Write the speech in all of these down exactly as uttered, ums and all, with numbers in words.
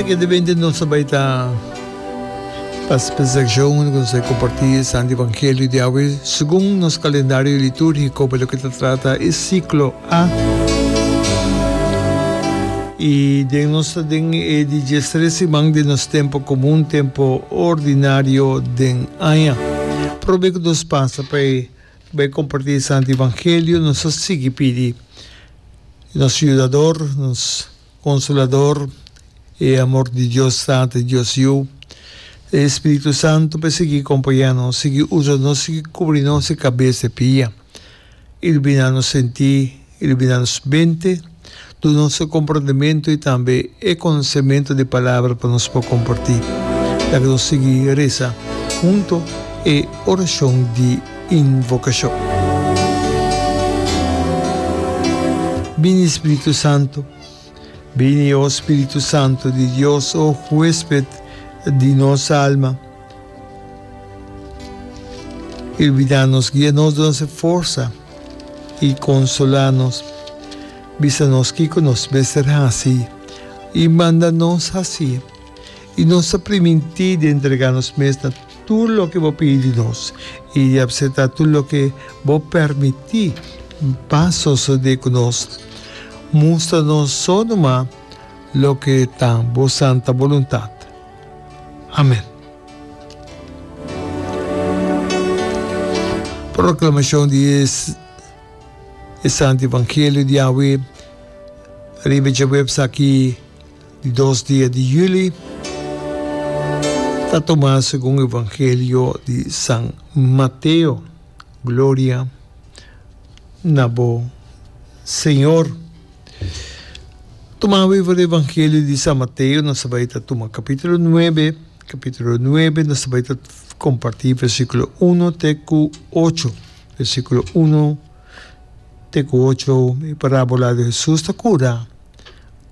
Seguidamente nos ta bai ta pas seccion cu nos ta comparti e Santo Evangelio di awe segun nos calendario litúrgico pa loke ta trata e ciclo A. Y den nos ta den e di diestres siman di nos tempo comun, tempo ordinario den aña. Prome cu nos pasa pa e bai comparti e Santo Evangelio, nos ta sigui pidi nos Yudador, nos Consolador, e amor di Dios Tata, Dios Yu, e Spiritu Santo pa sigui compaña nos, sigui usa nos, sigui cubri nos e cabes e pia, ilumina nos senti, ilumina nos mente, duna nos e comprendemento y tambe e conocemento di palabra pa nos por comparti. Laga nos sigui reza hunto e oracion di invocacion. Bini Spiritu Santo, bini o Spiritu Santo di Dios, o huesped di nos alma. Ilumina nos, guia nos, duna nos forsa y consola nos. Bisa nos kico nos mester haci y manda nos haci. Y nos ta priminti di entrega nos mes na tur loke bo pidi nos y di acepta tur loke bo permiti pa sosode cu nos. Mustra nos so numa loke ta bo santa boluntad. Amen. Proclamacion di e Santo Evangelio di awe riba djaweps aki di dos dia di juli ta tuma segun Evangelio di San Mateo. Gloria na bo, Señor. Tuma awe for di Evangelio di San Mateo, nos ta bai ta tuma capítulo nuebe, capítulo nuebe, nos ta bai ta comparti versículo uno te cu ocho. Versículo uno te cu ocho, e parábola di Jesús ta cura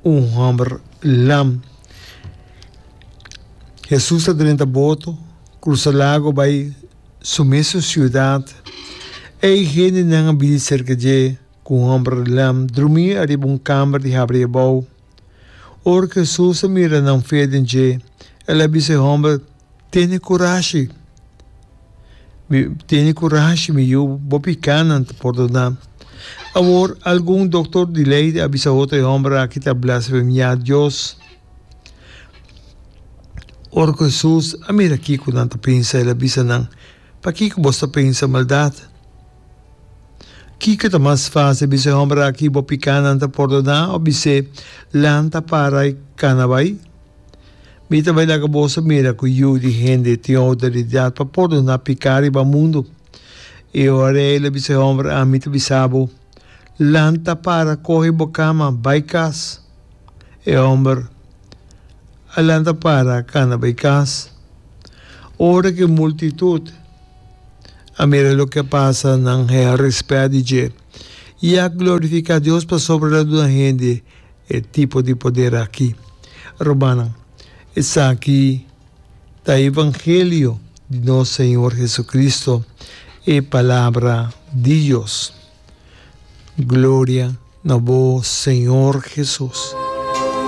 un homber lam. Jesús ta drenta boto, cruza lago bai su mesun ciudad. Ei hendenan a bini cerca dje cu un homber lam drumi ariba un camber di habri abou. Ora cu Jesús a mira nan fe den dje, el a bisa e homber, Tene curashi, mi, tene curashi, mi yu, bo picanan ta pordoná. Awor, algun doctor di ley a bisa otro, E homber aki ta blasfemiá Dios. Ora cu Jesús a mira kico nan ta pensa, el a bisa nan, Pakico boso ta pensa maldad? Kico ta mas fácil, bisa e homber aki, Bo picanan ta pordoná, of bis'é, Lanta, para i cana bai? Mi ta bai laga boso mira ku Yu di hende tin outoridat pa pordoná piká riba mundu. E ora el a bisa e hòmber, Ami ta bisa bo, Lanta para, kohe bo kama, bai kas. E hòmber a lanta para, kana bai kas. Ora ku e multitut a mira loke a pasa, nan hea rèspèt di dje i a glorifiká Dios pasobra el a duna hende E tipo di poder aki. Rumannan, esaki ta e evangelio di nos Señor Jesucristo, e Palabra di Dios. Gloria na bo, Señor Jesus.